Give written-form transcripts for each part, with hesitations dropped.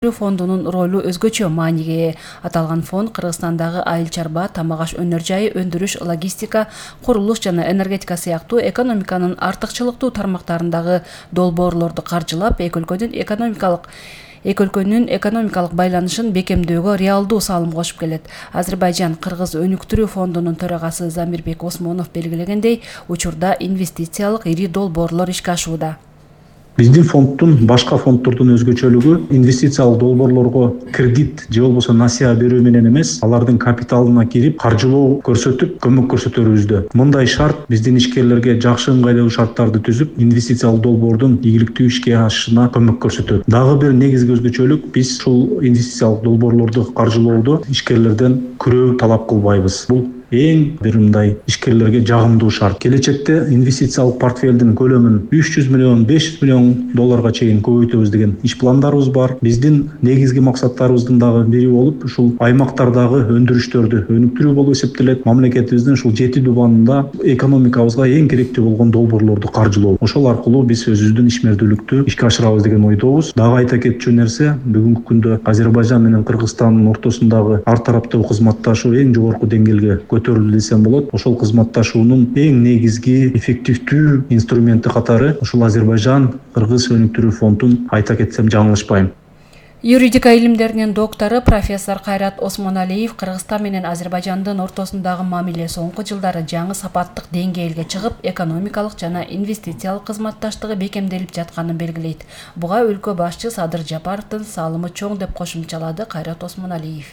фондунун ролу өзгөчө мааниге ээ. Аталган фонд Кыргызстандагы айыл чарба, тамак-аш өнөр жайы, өндүрүш, логистика, курулуш жана энергетика сыяктуу экономиканын артыкчылыктуу тармактарындагы долбоорлорду каржылап, эки өлкөнүн экономикалык байланышын бекемдөөгө реалдуу салым кошуп келет. Азербайжан-Кыргыз өнүктүрүү фондунун төрагасы Замирбек Осмонов белгилегендей, учурда инвестициялык ири долбоорлор ишке ашууда. Биздин фонддун башка фонддордун өзгөчөлүгү инвестициялык долбоорлорго кредит же болбосо насыя берүү менен эмес, алардын капиталына кирип, каржылоо көрсөтүп, көмөк көрсөтөрүбүздө. Мындай шарт биздин ишкерлерге жакшы ыңгайлуу шарттарды түзүп, инвестициялык долбоордун ийгиликтүү ишке ашышына көмөк көрсөтөт. Дагы бир негизги өзгөчөлүк, биз ушул инвестициялык долбоорлорду каржылоодо ишкерлерден күрөө талап кылбайбыз. Бул эң бир мындай ишкерлерге жагымдуу шарт. Келечекте инвестициялык портфелдин көлөмүн 300 миллион, 500 миллион долларга чейин көбөйтөбүз деген иш пландарыбыз бар. Биздин негизги максаттарыбыздын дагы бири болуп, ушул аймактардагы өндүрүштөрдү өнүктүрүү болуп эсептелет. Мамлекетибиздин ушул 7 дубанында экономикабызга эң керектүү болгон долбоорлорду каржылоо. Ошол аркылуу биз өзүбүздүн ишмердүүлүктү ишке ашырабыз деген ойдобуз. Дагы айта кетчү нерсе, бүгүнкү күндө Азербайжан менен Кыргызстандын ортосундагы ар тараптуу кызматташуу эң жогорку деңгээлге көтөрүлдү десем болот. Ошол кызматташуунун эң негизги эффективдүү инструменти катары ушул Азербайжан-Кыргыз өнүктүрүү фондун айта кетсем жаңылышпайм. Юридика илимдеринин доктору профессор Кайрат Осмоналиев Кыргызстан менен Азербайжандын ортосундагы мамиле соңку жылдары жаңы сапаттык деңгээлге чыгып, экономикалык жана инвестициялык кызматташтыгы бекемделип жатканын белгилейт. Буга өлкө башчы Садыр Жапаровдун салымы чоң деп кошумчалады Кайрат Осмоналиев.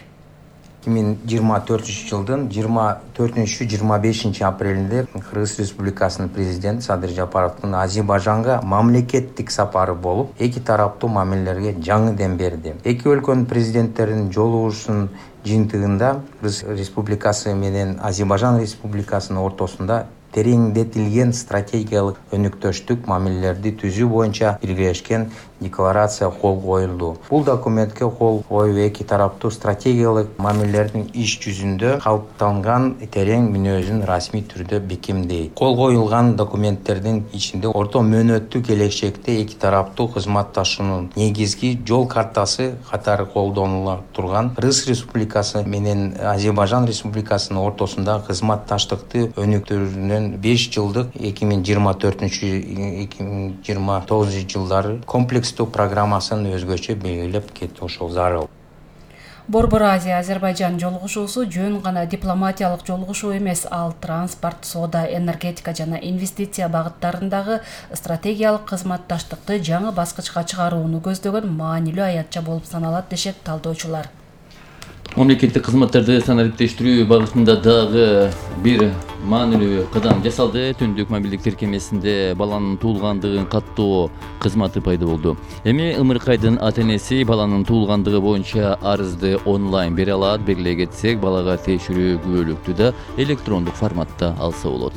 2024 жылдын 24-25 апрелинде Кыргыз Республикасынын президенти Садыр Жапаровдун Азербайжанга мамлекеттик сапары болуп, эки тараптуу мамилелерге жаңы дем берди. Эки өлкөнүн президенттеринин жолугушуунун жыйынтыгында Кыргыз Республикасы менен Азербайжан Республикасынын ортосунда тереңдетилген стратегиялык өнүктөштүк мамилелерди түзүү боюнча биргелешкен декларация кол коюлду. Бул документке кол коюу эки тараптуу стратегиялык мамилелердин иш жүзүндө калыптанган терең мүнөзүн расмий түрдө бекемдейт. Кол коюлган документтердин ичинде орто мөөнөттүү келечекте эки тараптуу кызматташуунун негизги жол картасы катары колдонула турган Кыргыз Республикасы менен Азербайжан Республикасынын ортосундагы кызматташтыкты өнүктүрүүнүн 5 жылдык 2024-2029 жылдары комплекстүү программасын өзгөчө белгилеп кетти. Ошол зарыл. Борбор Азия Азербайжан жолугушуусу жөн гана дипломатиялык жолугушуу эмес, ал транспорт, соода, энергетика жана инвестиция багыттарындагы стратегиялык кызматташтыкты жаңы баскычка чыгарууну көздөгөн маанилүү аятча болуп саналат, дешет талдоочулар. Мамлекеттик кызматтарды санариптештирүү багытында дагы бир маанилүү кадам жасалды. Түндүк мобилдик тиркемесинде баланын туулгандыгын каттоо кызматы пайда болду. Эми ымыркайдын ата-энеси баланын туулгандыгы боюнча арызды онлайн бере алат. Белгилей кетсек, балага тиешелүү күбөлүктү да электрондук форматта алса болот.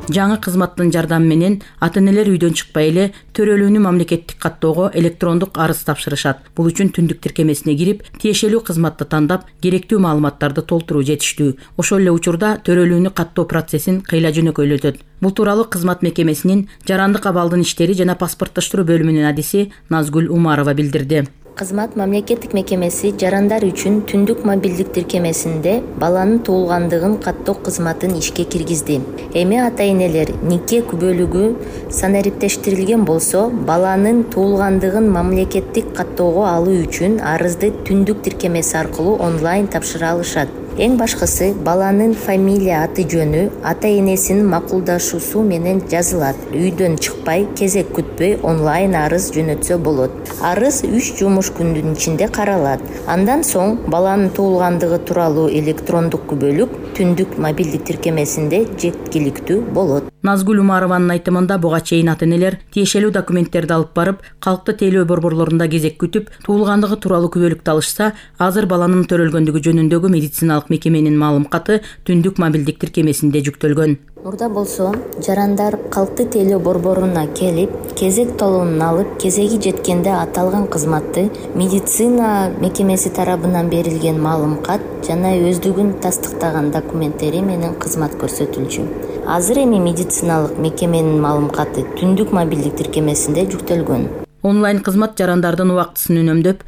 Жаңы кызматтын жардамы менен ата-энелер үйдөн чыкпай эле төрөлүүнү мамлекеттик каттоого электрондук арыз тапшырышат. Бул үчүн түндүк тиркемесине кирип, тиешелүү кызматты тандап, керектүү маалыматтарды толтуруу жетиштүү. Ошол эле учурда төрөлүүнү каттоо процессин кыйла жөнөкөйлөтөт. Бул тууралуу кызмат мекемесинин жарандык абалдын иштери жана паспорттоштуруу бөлүмүнүн адиси Назгүл Умарова билдирди. Кызмат мамлекеттик мекемеси жарандар үчүн түндүк мобилдик тиркемесинде баланын туулгандыгын каттоо кызматын ишке киргизди. Эми ата-энелер нике күбөлүгү санариптештирилген болсо, баланын туулгандыгын мамлекеттик каттоого алуу үчүн арызды түндүк тиркемеси аркылуу онлайн тапшыра алышат. Эң башкысы, баланын фамилия аты жөнү ата-энесинин макулдашуусу менен жазылат. Үйдөн чыкпай, кезек күтпөй онлайн арыз жөнөтсө болот. Арыз 3 жумуш күндүн ичинде каралат. Андан соң баланын туулгандыгы тууралуу электрондук күбөлүк түндүк мобилдик тиркемесинде жеткиликтүү болот. Назгүл Умарованын айтымында буга чейин ата-энелер тиешелүү документтерди алып барып, калктуу тейлөө борборлорунда кезек күтүп, туулгандыгы тууралуу күбөлүктү алышса, азыр баланын төрөлгөндүгү жөнүндөгү медициналык мекеменин маалым каты түндүк мобилдик тиркемесинде жүктөлгөн. Мурда болсо, жарандар калктуу тейлөө борборуна келип, кезек талонун алып, кезеги жеткенде аталган кызматты медицина мекемеси тарабынан берилген маалым кат жана өздүгүн тастыктаган документтери менен кызмат көрсөтүлчү. Азыр эми медициналык мекеменин маалым каты түндүк мобилдик тиркемесинде жүктөлгөн. Онлайн кызмат жарандардын убактысын үнөмдөп,